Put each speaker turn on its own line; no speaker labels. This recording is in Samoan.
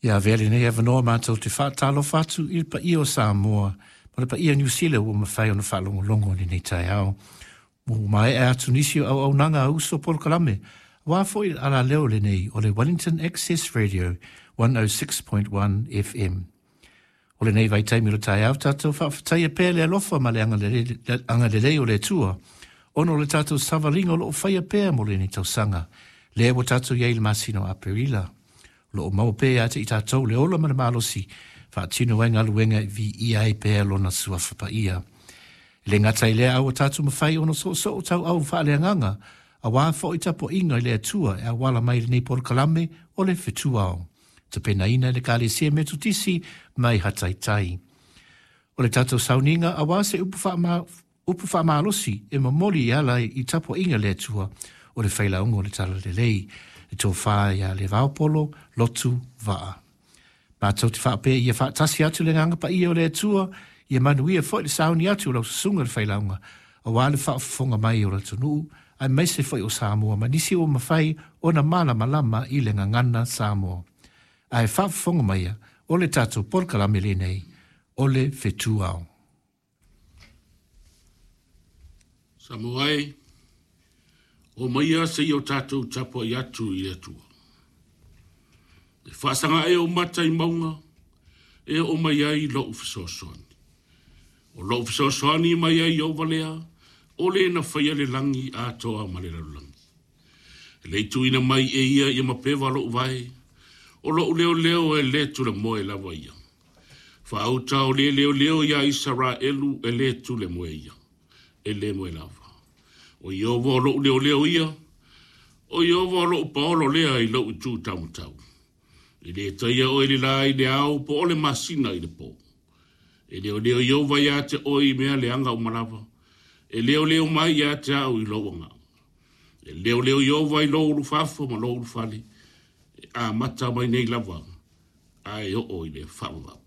Ia avea lenei avanoa matou te faatalofa atu i le paia o Samoa ma le paia o Niu Sila ua mafai ona faalogologo i lenei taeao. Ua maea atu nisi o auaunaga a uso polokalame, aua foi le alaleo lenei o le Wellington Access Radio 106.1 FM. O lenei vaitaimi o le taeao tatou faafetaia pea le alofa ma le agalelei o le Atua ona o le tatou savaliga o lo o faia pea mo lenei tausaga, lea ua tatou i ai i le masina o Aperila. O lo o maua pea ia te i tatou le ola ma le malosi, faatino ai galuega e viia ai pea Lona Suafa Paia. E le gata i lea a ua tatou mafai ona soosoo tauau faaleagaga, aua foi tapuaiga i le Atua e auala mai i lenei polokalame o le Fetuao. Tapenaina e le Ekalesia Metotisi mai Hataitai. O le tatou sauniga aua se upu faama, upu faamalosi e momoli e ala i tapuaiga le Atua o le Failauga o le Talalelei, le tofa ia Levaopolo Lotu Vaa. Matou te faapea ia faatasi atu le Agaga Paia o le Atua, ia manuia foi le sauni atu o lau susuga le Failauga, aua le faafofoga mai o le atunuu, aemaise foi o Samoa ma nisi ua mafai ona malamalama i le gagana Samoa. Ae faafofoga maia, o le tatou polokalame lenei, o le Fetuao.
Samoa e, omaia seia o tatou tapuai atu i le Atua. E faasaga ea ou mata i mauga, e oo mai ai lou fesoasoani. O lou fesoasoani mai ai Ieova lea, o le na faia le lagi atoa ma le lalolagi. E le i tuuina mai e ia ia mapeva lou vae, o lou leoleo e le tulemoe lava ia. Faauta o le leoleo iā Isaraelu e le tulemoe ia, e le moe lava. O Ieova o lou leoleo ia, o Ieova o lou paolo lea i lou itu taumatau. E le taia oe le la i le ao po o le masina i le po. E leoleo Ieova ia te oe i mea leaga uma lava. E leoleo mai ia te au i lou agaga. E leoleo Ieova i lou ulufafo ma lou ulufale, e amata mai nei lava a e oo i le faavavau.